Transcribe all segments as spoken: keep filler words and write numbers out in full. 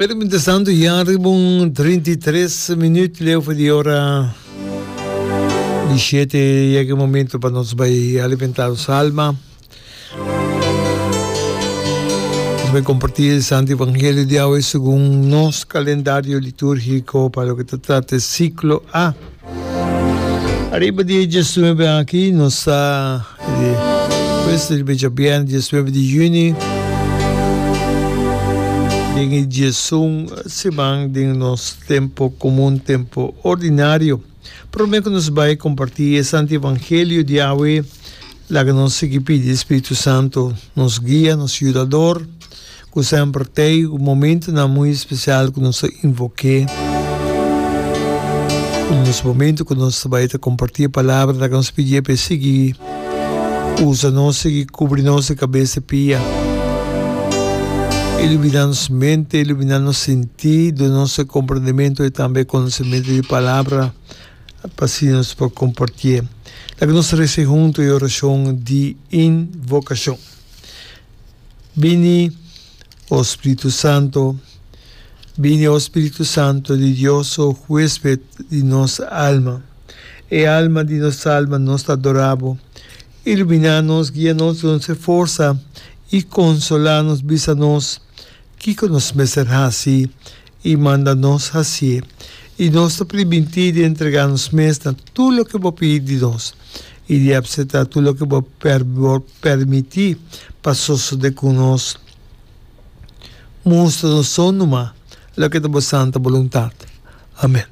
Pero mientrastanto ya riba un trinta i tres minuut leu for di ora di shete yega e momento pa nos bai alimenta nos alma. Nos bai comparti e Santo Evangelio di awe segun nos calendario liturgico pa loke ta trata e ciclo A. Ariba di e diesnuebe aki nos ta pues riba e djabièrnè diesnuebe di yüni den e diesun siman den nos tempo komun, tempo ordinario. Promé ku nos bai kompartí e Santu Evangelio di awe, laga nos sigui pidi e Spiritu Santu nos guia, nos yudador. Ku semper t'ei un momentunan muy espesial ku nos ta invok'é. Un nos momentu ku nos ta bai ta kompartí e palabra ta nos pidié pa e sigui usa nos, sigui kubri nos di kabes te pia, iluminá nos mente, iluminá nos sintí, duna nos e komprendementu i tambe e konosementu di palabra pa asina nos por kompartié. Laga nos resa huntu e orashon di invokashon. Bini, o Spiritu Santo, bini, o Spiritu Santo di Dios, o huesped di nos alma. E alma di nos alma, nos ta adorá bo. Iluminá nos, guia nos, duna nos e forsa i konsolá nos, bisa nos kiko nos mester hasi i manda nos hasié. I nos ta primintí di entregá nos mes na tur loke bo pidi di nos i di apseptá tur loke bo permití pa sosodé ku nos. Mustra nos so numa loke ta bo santa boluntat. Amèn.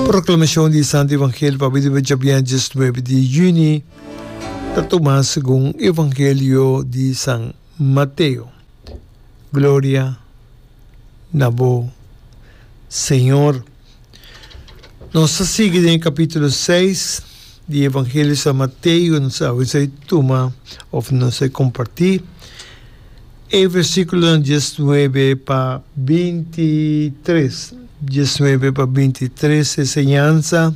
Proklamashon di e Santu Evangelio pa bida djabièrnè diesnuebe di yüni ta tumá segun Evangelio di San Mateo. Gloria na bo, Señor. Nos ta sigui den e capítulo seis di Evangelio San Mateo. Nos a wens tuma of nos a comparti e versículonan diesnuebe pa binti tres. Diesnuebe pa binti tres, e enseñansa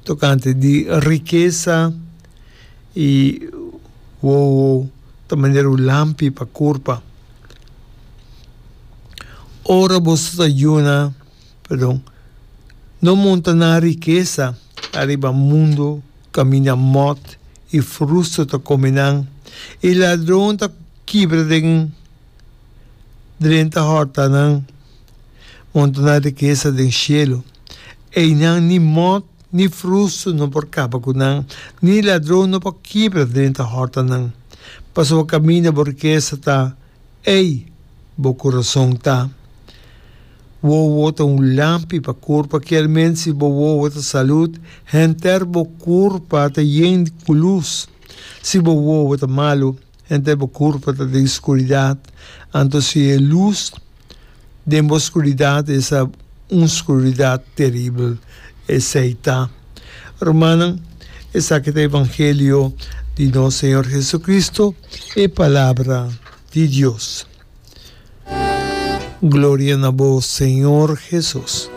tocante di rikesa i wowo ta manera un lampi pa kurpa. Ora boso ta yuna, perdon, no monta nan rikesa ariba mundu kaminda mòt i frustu ta kome nan, i ladron ta kibra den drenta hòrta nan. Monta nan rikesa den shelu, einan ni mòt ni frustu no por kaba ku nan, ni ladron no por kibra drenta hòrta nan. Pasobra kaminda bo rikesa ta, ei bo kurason ta. Wowo ta un lampi pa kurpa, kier si bo wowo ta salud, henter bo kurpa ta yen ku lus. Si bo wowo ta malu, henter bo kurpa ta den skuridat. Anto si e lus den bo skuridat, esa un skuridat teribel esei ta. Rumannan, esaki ta evangelio di nos Señor Jesucristo, e palabra di Dios. Gloria na bo, Señor Jesus.